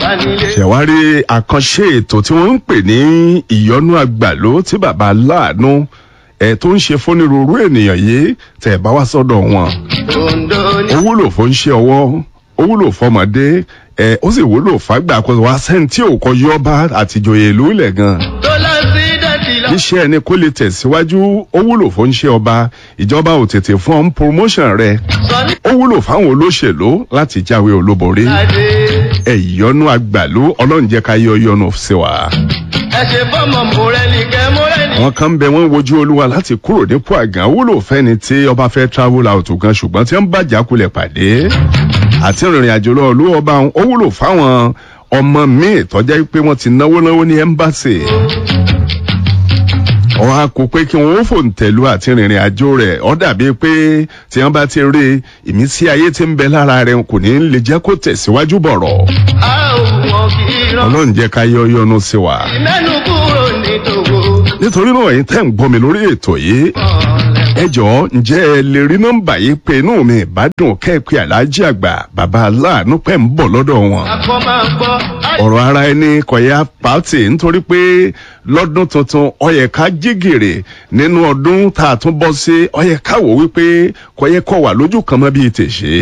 wà nílé. Ṣẹ̀wárí àkànṣe ètò tí wọ́n ń pè ní ìyọnú àgbàló tí bàbá láàánú ẹ̀ tó ń ṣe fónírúurú ènìyàn yìí tẹ̀ bá wá sọ́dọ̀ wọn. Ondo ní. Ó wúlò fún ṣe ọwọ́, ó wúlò fọmọdé ẹ̀, ó sì wúlò fàgbà kó wá sẹ́ńtì òkò yọba àtìjòyè ìlú ilẹ̀ gan. Tó lọ sí dẹ́tì lọ. Iṣẹ́ ẹni kó lè tẹ̀síwájú, ó wúlò fún ṣe ọba, ìjọba ò tètè fún ọ́n promotion rẹ̀. Sọ ní. Ó wúlò fáwọn olóṣèlú láti jáwé olúborí. Adé. Ẹ̀yọ́nú àgbàlú, ọlọ́run jẹ́ ká yọ yọnu sí wa. Ẹ ṣe fọ́mọ mọ̀rẹ́lì kẹ́ mọ́rẹ́lì. Àwọn kan bẹ, wọ́n wojú olúwa láti kúrò nípò àgàn, wúlò fẹ́ni tí ọba fẹ́ travel out gan, ṣùgbọ́n tí wọ́n bàjá kulẹ̀ pàdé àti ìrìnrìn àjò lọ ìlú ọba wọn. Ó wúlò fáwọn ọmọ míì tọ́já pé wọ́n ti náwó náwó ní ẹ́mbáṣì, wọn á kó pé kí wọn ó fòǹtẹ̀lú àti ìrìnrìn àjò rẹ̀. Ó dàbí pé tí wọ́n bá ti rí ìmísí ayé tí ń bẹ lára rẹ̀, kò ní lè jẹ́ kó tẹ̀síwájú bọ̀rọ̀. A ò wọ́n kì í rán. Ọlọ́run jẹ́ ká yọ yọnu sí wa. Ìmẹ́nu kúrò ní tòwó. Nítorí náà, ẹ̀yin tẹ́ ń gbọ́ mi lórí ètò yìí, ẹ jọ̀ọ́, ǹjẹ́ ẹ lè rí nọ́mbà yìí pé? Inú mi ìbádùn kẹ́ẹ̀pẹ́ aláàjì àgbà bàbá aláàánú pẹ̀ ń bọ̀ lọ́dọ̀ wọn. Akọ máa ń gbọ́. Ọ̀rọ̀ ara ẹni kọ̀yà pàtì, nítorí pé lọ́dún tuntun ó yẹ ká jígèrè nínú ọdún tá a tún bọ́ sí. Ó yẹ ká wò wípé kọ̀yẹ́ kọ̀ wà lójú kan mọ́ bíi tèṣe.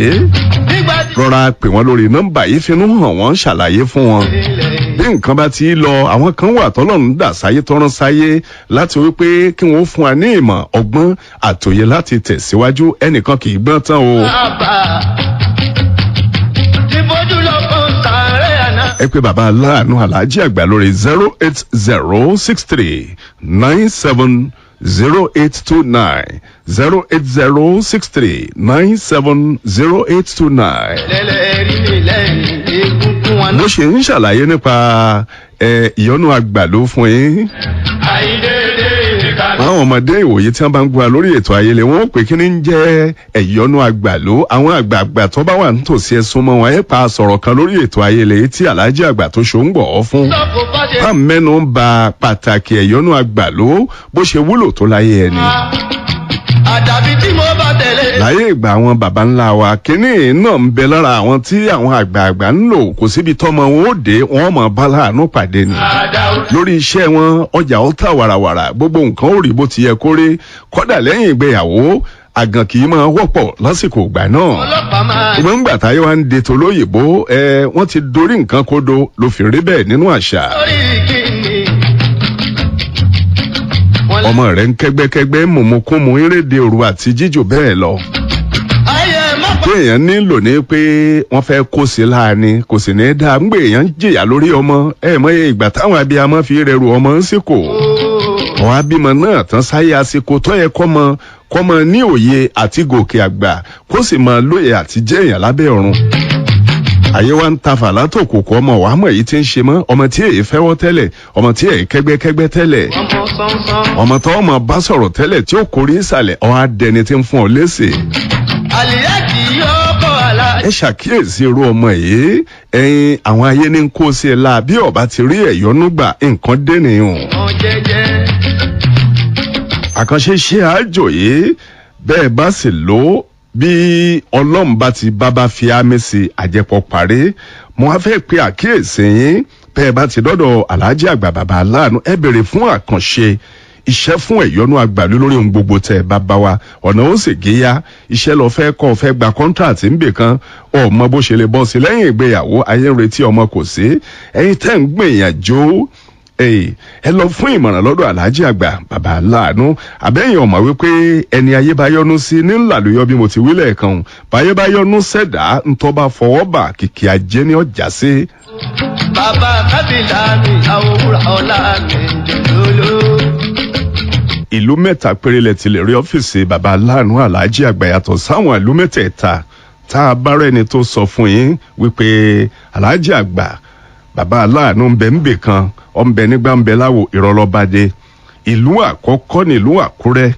Nígbà tí Rọra pè wọ́n lórí nọ́mbà yìí, finú hàn wọ́n, ṣàlàyé fún wọn ilẹ̀ bí nǹkan bá ti lọ. Àwọn kan wà tọ́lọ́run dà sáyé, tọ́rán sáyé láti wípé kí wọ́n fún wa ní ìmọ̀, ọgbọ́n àtòyè láti tẹ̀síwájú. Ẹnìkan kì í gbọ́n tán o. bàbá. Ti fojú lọ fún sàárẹ̀ àná. Ẹ pé bàbá aláàánú aláàjì àgbà lórí 08063970829, 08063970829. Lẹ́lẹ̀ rí mi lẹ́yìn egungun wọn. Bó ṣe ń ṣàlàyé nípa ìyọnu àgbàló fún yín. Àìdédé ìka. Àwọn ọmọdé ìwòye tí wọn bá ń gbọ́ lórí ètò ayẹlẹ, wọn ó pè kí ni ń jẹ́ ẹ̀yọ́nú àgbàló. Àwọn àgbààgbà tó bá wà nítòsí, ẹ̀sùn mọ́ wọn, ẹ̀ pa sọ̀rọ̀ kan lórí ètò ayẹlẹ tí aláàjì àgbà tó ṣó ń gbọ̀ ọ́ fún. Sọ́kò bá ṣe. Bá mẹ́nu ń ba pàtàkì ẹ̀yọ́nú àgbàló, bó ṣe wúlò tó láyé ẹni. Àdàbí tí mo bá tẹ̀lé. Láyé ìgbà àwọn baba ńlá wa, kínní náà ń bẹ lára àwọn tí àwọn àgbààgbà ń lò. Kò síbi tọ́mọ wọn ó dé, wọn mọ̀ bá láàánú pàdé ni Àdàwọ̀. lórí iṣẹ́ wọn, ọjà ó tà wàràwàrà, gbogbo nǹkan ó rí bó ti yẹ kó rí. Kódà lẹ́yìn ìgbéyàwó, àgàn kì í máa wọ́pọ̀ lásìkò ìgbà náà. Ọlọ́pàá máa. Ìgbọ́n ńgbà táyé wa ń de tolóyìnbó ẹ, wọ́n ti dorí nǹkan kodo ló fi rí bẹ́ẹ̀ nínú àṣà. Lórí kíni. Wọ́n lé. Ọmọ rẹ̀ ń kẹ́gbẹ́kẹ́gbẹ́, mùmùkúmu, eréde òru àti jíjò bẹ́ẹ̀ lọ. Ayé má pa. Bí èèyàn nílò ní pé wọ́n fẹ́ kó sí láàánú, kò sì ní í dáa ń gbé èèyàn ń jìyà lórí ọmọ ẹ mọ ìgbà táwọn abiyamọ fi rẹrù ọmọ ń sìnkò. Àwọn abímọ náà tán sáyé, àsìkò tó yẹ kọ́mọ kọ́mọ ní òye àti gòkè àgbà, kó sì máa lóye àti jẹ́ èèyàn lábẹ́ ọ̀run. Àyè wa ń ta fàlátò kò kọ́ ọmọ wàá mọ̀ èyí tí ń ṣe mọ́ ọmọ tí èyí fẹ́wọ́ tẹ́lẹ̀, ọmọ tí èyí kẹ́gbẹ́kẹ́gbẹ́ tẹ́lẹ̀, Ọmọ sánsan. ọmọ tó ọmọ bá sọ̀rọ̀ tẹ́lẹ̀ tí ó kórè ìsàlẹ̀, ọ̀ á dẹni tí ń fún ọ léṣe. Àlìyá kì í yọ ọkọ̀ àlá. Ẹ ṣàkíyèsí irú ọmọ yìí, ẹyin àwọn ayé ní kó sí ẹ la. Bí ọba ti rí ẹyọnú gbà, nǹkan dẹ́nìyàn. Ọmọ jẹ́jẹ́. Àkànṣe ṣe àjò yìí, bẹ́ẹ̀ bá sì lò ó, bí ọlọ́run bá ti bábá fi ámì sí, àjẹpọ̀ parí. Mo á fẹ́ pe àkíyèsí yín, bẹ́ẹ̀ bá ti dọ́dọ̀ aláàjì àgbà bàbá aláàánú, ẹ béèrè fún àkànṣe iṣẹ́ fún ẹ̀yọ́nú àgbàlú lórí ohun gbogbo tẹ̀ bàbá wa, ọ̀nà ó sì géyà. Iṣẹ́ lọ fẹ́ kọ́, fẹ́ gba kọ́ńtàtì ńbè kan, ọmọ bó ṣe lè bọ́ sí lẹ́yìn ìgbéyàwó, ayé ń retí ọmọ kò sí, ẹ̀yin tẹ́ ń gbìyànjú, ẹ lọ fún ìmọ̀ràn lọ́dọ̀ aláàjì àgbà bàbá aláàánú. Àbẹ́yìn ọ̀mọ̀ wípé ẹni ayé bá yọ́nú sí ní ńlá ló yọ, bí mo ti wí lẹ́ẹ̀kan o. Báyé bá yọ́nú sẹ̀dá, ńtọ́ bá fọwọ́ bà, kìkì ajé ní ọjà sí. Bàbá kábìlà mi, àwòrán ọ̀la mi jòlóló. Ìlú mẹ́ta péré lẹ ti lè rí ọ́fíìsì bàbá aláàánú aláàjì àgbà, yàtọ̀ sáwọn ìlú mẹ́tẹ̀ẹ̀ta tá a bá rẹ́ni tó sọ fún yín wípé aláàjì àgbà bàbá aláàánú ń bẹ ń bè kan, ọ̀ ń bẹ nígbà ń bẹ láwo, ìrọ̀lọ́badé. Ìlú àkọ́kọ́ nílùú Àkúrẹ́.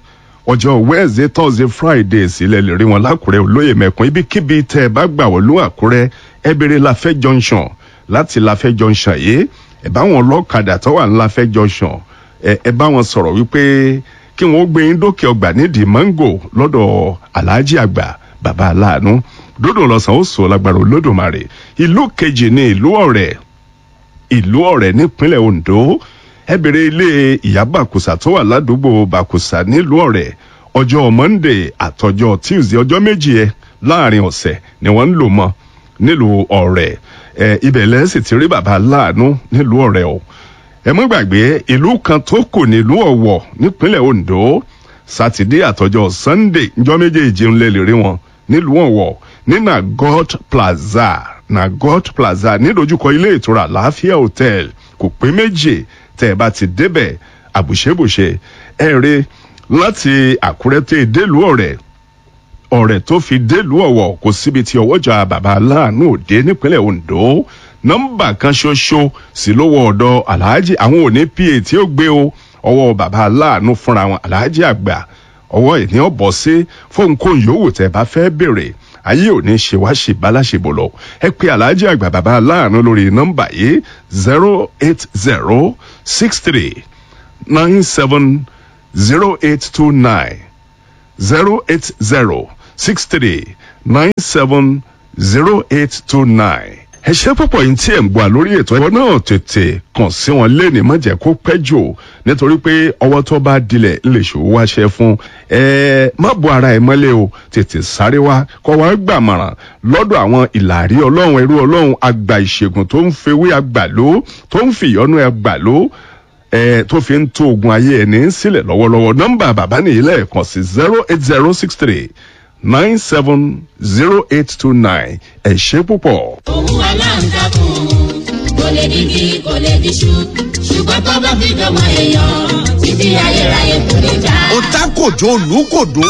Ọjọ́ Wednesday, Thursday, Friday sílẹ̀ lè rí wọn lákùrẹ́ olóyè mẹ́kún. Ibikíbi tẹ́ ẹ bá gbà wọ́n lú Àkúrẹ́, ẹ béèrè Láfẹ́ Junction. Láti Láfẹ́ Junction yìí, ẹ bá wọn lọ́kadà tó wà ní Láfẹ́ Junction, ẹ bá wọn sọ̀rọ̀ wípé kí wọ́n gbé yín dókè ọgbà nídìí mango lọ́dọ̀ aláàjì àgbà bàbá aláàánú. Dódò lọ́sàn ó sọ lágbára Olódùmarè. Ìlú kejì ní ìlú Ọ̀rẹ́. ìlú Ọ̀rẹ́ nípínlẹ̀ Ondo, ẹ bèrè ilé ìyá Bàkùsà tó wà ládùúgbò Bàkùsà nílùú Ọ̀rẹ́. Ọjọ́ Monday àtọjọ́ Tuesday, ọjọ́ 2 ẹ láàrin ọ̀sẹ̀ ni wọ́n ń lò mọ́ nílùú Ọ̀rẹ́. Ẹ ibẹ̀ lẹ́sìn ti rí bàbá láàánú nílùú Ọ̀rẹ́ o. Ẹ mọ́ gbàgbé ìlú kan tó kù nílùú Ọ̀wọ̀ nípínlẹ̀ Ondo. Sátidé àtọjọ́ Sunday, njọ́ méjèèjì ń lè lè rí wọn nílùú Ọ̀wọ̀ ní Nagot Plaza. Nagot Plaza nídojúkọ ilé ìtura Àlàáfíà Hotel, kò pé méjì tẹ́ ẹ bá ti débẹ̀ àbùṣebùṣe. Ẹ rí láti Àkúrẹ́ tẹ́ délùú Ọ̀rẹ́, Ọ̀rẹ́ tó fi délùú Ọ̀wọ̀, kò síbi tí ọwọ́jà bàbá aláàánú òde nípínlẹ̀ Ondo. Nọ́mbà kan ṣoṣo sì lówó ọ̀dọ̀ aláàjì. Àwọn òní pa tí ó gbé o, ọwọ́ bàbá aláàánú fúnra wọn, aláàjì àgbà, ọwọ́ ìní ọ̀bọ̀ sí fóun kó yòówù tẹ́ bá fẹ́ béèrè. Ayé òní ṣe wá ṣe báláṣebò lọ. Ẹ pé aláàjì àgbà bàbá aláàánú lórí nọ́mbà yìí: 08063970829, 08063970829. Ẹ ṣe púpọ̀ yìí tí ẹ̀ ń gbọ́ lórí ètò ẹ̀kọ́ náà. Tètè kàn sí wọn lẹ́ni, má jẹ́ kó pẹ́ jù, nítorí pé ọwọ́ tó bá dilẹ̀ lè ṣòwò wáṣẹ fún ẹ. Má bo ara ẹ mọ́lẹ̀ o, tètè sáré wá kọ́ wá gbàmọ̀ràn lọ́dọ̀ àwọn ìlàrí ọlọ́run, ẹrú ọlọ́run, àgbà ìṣègùn tó ń fewé àgbàló, tó ń fìyọ́nú àgbàló ẹ, tó fi ń tó ogun ayé ẹni sílẹ̀ lọ́wọ́lọ́wọ́. Nọ́mbà bàbá nìyí lẹ́ẹ̀kan sí: 08063970829. Ẹ ṣé púpọ̀. Òun aláǹtakùn kò lè digi, kò lè diṣu, ṣùgbọ́n tó bá fi dọ́mọ èèyàn, títí ayérayé kò lè já. Ó ta kòjó olùkòdó,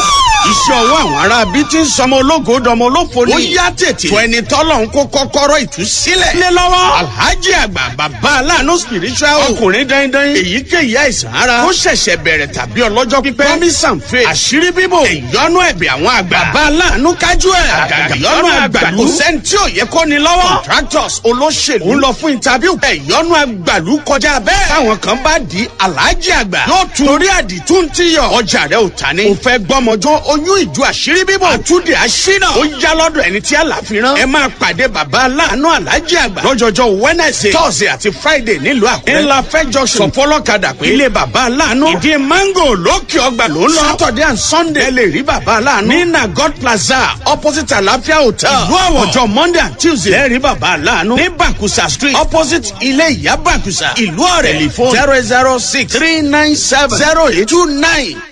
iṣẹ́ ọwọ́ àwọn ará bíi ti ń sọmọ ológo dọmọ olófo ni. Ó yá tètè tó ẹni tọ́lọ̀ ń kó kọ́kọ́rọ́ ìtúsílẹ̀. Lé lọ́wọ́ Alhaji àgbà bàbá aláàánú spiritual, ọkùnrin dandan. Èyíkéyìí àìsàn ara ó ṣẹ̀ṣẹ̀ bẹ̀rẹ̀ tàbí ọlọ́jọ́ pípẹ́, promise and faith, àṣírí bíbò, ìyọnu ẹ̀bẹ̀ àwọn àgbà, bàbá aláàánú kájú ẹ̀, àgàgà ìyọnu àgbàlú, kò sẹ́ni tí ò yẹ kó ni lọ́wọ́. Contractors, olóṣèlú ń lọ fún interview, ìyọnu àgbàlú kọjá bẹ́ẹ̀. Táwọn kan bá di Alhaji àgbà yóò tún torí àdìtú ń tíyọ̀, ọjà rẹ̀ ò ta ni. Ò fẹ́ gbọ́mọjọ́, oyún ìjọ, àṣírí bíbò, àtúndì àṣínà, ó yá lọ́dọ̀ ẹni tí àlàfi rán. Ẹ máa pàdé bàbá aláàánú aláàjì àgbà lọ́jọ́jọ́ Wednesday, Thursday àti Friday nílùú Àkúrẹ́, ńlá fẹ́ junction. Sọfọlọ́kadà pé ilé bàbá aláàánú, ìdí mango, lókè ọgbà ló ń lọ. Saturday and Sunday, ẹ lè rí bàbá aláàánú ní Nagot Plaza, opposite Àlàáfíà Hotel, ìlú Àwọ̀. Ọjọ́ Monday and Tuesday, ẹ rí bàbá aláàánú ní Bàkúsà Street, opposite ilé ìyá Bàkúsà, ìlú Ọ̀rẹ́. Telephone: 006 397 0829.